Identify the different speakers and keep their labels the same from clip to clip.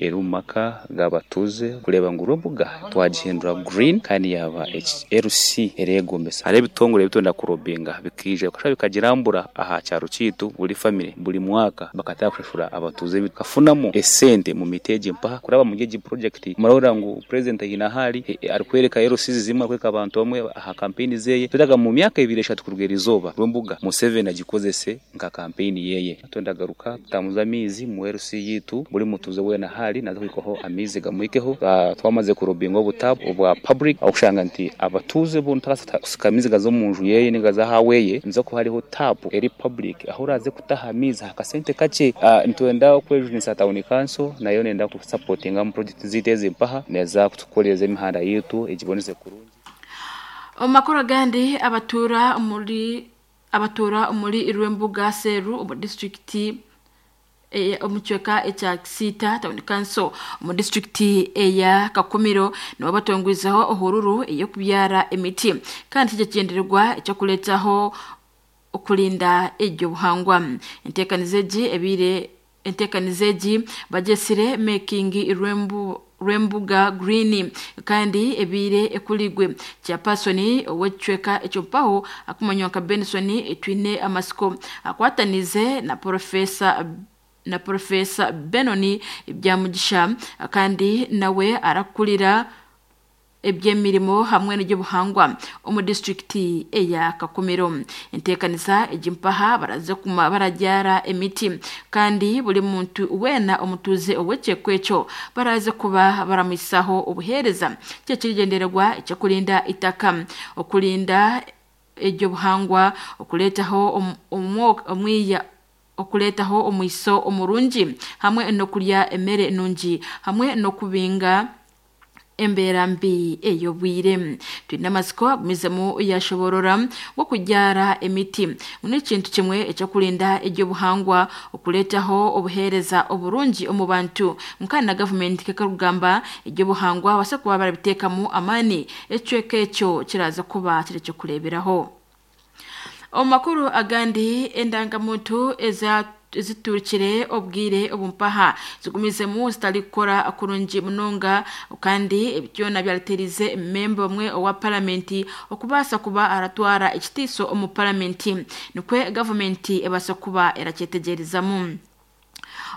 Speaker 1: Eri omu maka g'abatuuze kureeba ngu Rwembuga twagihindura green kandi yaaba LC ereegombesa. Hariho ebitongore ebi twenda kurobinga bikaija bikashusha bikagirambura aha kyaro kyaitu buri famire buri mwaka bakatandika kushashura abatuuze bakafunamu esente omu miti egi mpaha kuraba omuri egi purojekiti. Murahurira ngu purezidenti haine ahu ari arikworeka LCs zimwe arikworeka abantu bamwe aha kampeyini zeeye. Twetaaga ngu omu myaka ebiri eshatu kuruga eriizooba Rwembuga Museveni agikozese nka kampeyini yeye. Twendagaruka tutambuze amaizi mu LC yaitu, buri mutuuze weena ahu ari naaza kuhikwaho amaizi gamuhikeho. Twamaze kurobinga obutapu obwa public ahu orikushanga nti abatuuze boona otabaasa kusika amaizi gaza omu nju yeye ninga gaza aha weye, nihaza kuba hariho tapu eri public ahu oraaze kutaha amaizi aha kasente kakye. Nitwenda kwejunisa tawuni kanso nayo neyenda kutusapotinga omu purojekiti zaitu ezi mpaha, neeza kutukoreza emihanda yaitu egiboneze kurungi.
Speaker 2: Omu makuru agandi abatuura omuri abatuura omuri Rwembuga Seru omu disiturikiti omu kicweka ekya Kisiita Town Council omu disiturikiti eya Kakumiro nibo batongwizeho ohururu ey'okubyara emiti kandi kiri ekigyendererwa eky'okureetaho okurinda eby'obuhangwa. Enteekaniza egi ebaire enteekaniza egi bagyetsire Making Rwembu Rwembuga Green kandi ebaire ekurigwe chairperson ow'ekicweka ekyo mpaho akumanywa nka Benson Twine Amasiko akwatanize na Professor na Professor Benon Byamugisha kandi nawe arakurira eby'emirimo hamwe n'eby'obuhangwa omu disiturikiti eya Kakumiro. Enteekanisa egi mpaha baraze kuma barabyara emiti kandi buri muntu weena omutuuze ow'ekyekwa ekyo baraze kuba baramwisaho obuheereza kye kirigyendererwa eky'okurinda itaka okurinda eby'obuhangwa okureetaho omwiya okureetaho omwiso omurungi hamwe n'okurya emere nungi hamwe n'okubinga embeera mbi ey'obwire. Twine amatsiko agumizemu yashoborora okubyara emiti ngu n'ekintu kimwe ekyokurinda eby'obuhangwa okureetaho obuheereza oburungi omu bantu kandi na gavumenti nk'ekarikugamba eby'obuhangwa babaase kuba barabiteekamu amaani ekicweka ekyo kiraza kuba kiri ekyokureeberaho. Omu makuru agandi endangamuntu eza ziturukire obwire obumpaha zigumizemu zitarikukora kurungi munonga kandi ebi byona byareterize memba omwe owa paramenti okubaasa kuba aratwara ekitiiso omu paramenti nikwe gavumenti ebaasa kuba erakyetegyerezamu.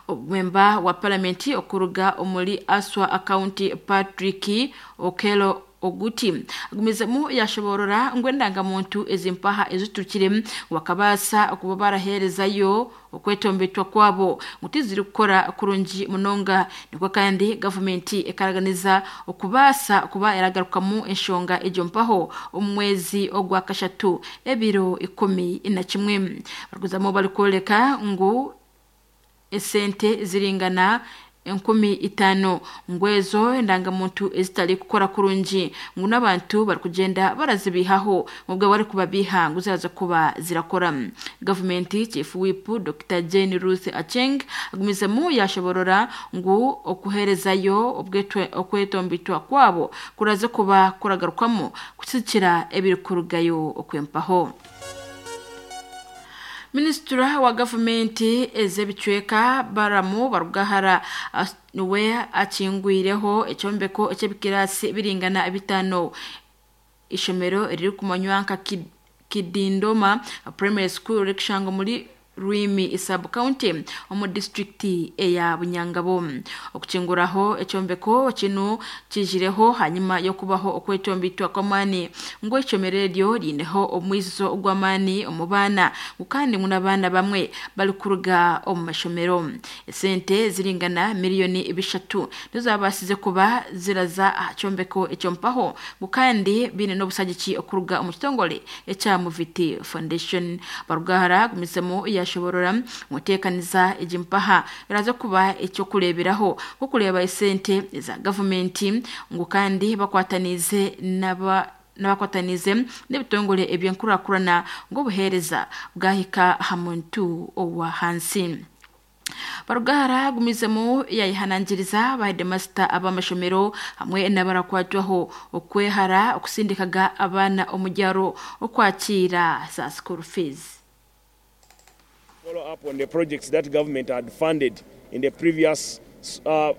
Speaker 2: Omwemba wa paramenti okuruga omuri Aswa County Patrick Okello Oguti agumizemu yashoborora ngu endangamuntu ezimpaha eziturukire bakabaasa kuba baraheerezayo okwetombetwa kwabo ngu tizirikukora kurungi munonga nikwo kandi gavumenti ekaraganiza okubaasa kuba eragarukamu enshonga egyo mpaho omu mwezi ogwa kashatu ebiro 11 barikuzamu barikworeka ngu esente ziringana 5,000 ngu ezo endangamuntu ezitari kukora kurungi ngu n'abantu barikugyenda barazibihaho mubwo barikubabiha ngu ziraza kuba zirakora. Gavumenti Chief Whip Dr Jane Ruth Acheng agumizemu yashoborora ngu okuheerezayo okwetombitwa kwabo kuraze kuba kuragarukamu kusikira ebirikurugayo okwempaho. Minisitula wa gavumenti ez'ebicweka Baramu Barugahara niwe akingwireho ekyombeko eky'ebikiraasi biringana 5 ishomero eririkumanywa nka Kidindoma Primary School ririkushangwa omuri Rwimi sub county omu disiturikiti eya Bunyangabo. Okukinguraho ekyombeko kinu kijireho hanyuma y'okubaho okwetombitwa kw'amaani ngu eishomero eryo riineho omwizo gw'amaani omu baana ngu kandi ngu n'abaana bamwe barikuruga omu mashomero. Esente ziringana miliyoni 3 nizo zabaasize kuba ziraza aha kyombeko ekyo mpaho ngu kandi biine n'obusagiki okuruga omu kitongore ekya Muviti Foundation. Barugahara agumizemu yashoborora ngu enteekaniza egi mpaha eraza kuba ekyokureeberaho nk'okureeba esente eza gavumenti ngu kandi bakwataniize n'aba n'abakwataniize n'ebitongore eby'enkurakurana ngu obuheereza bwahika aha muntu owa hansi. Barugahara agumizemu yayehanangiriza ba headmaster ab'amashomero hamwe n'abarakwatwaho okwehara okusindikaga abaana omu byaro okwakiira za school fees.
Speaker 3: Follow up on the projects that government had funded in the previous financial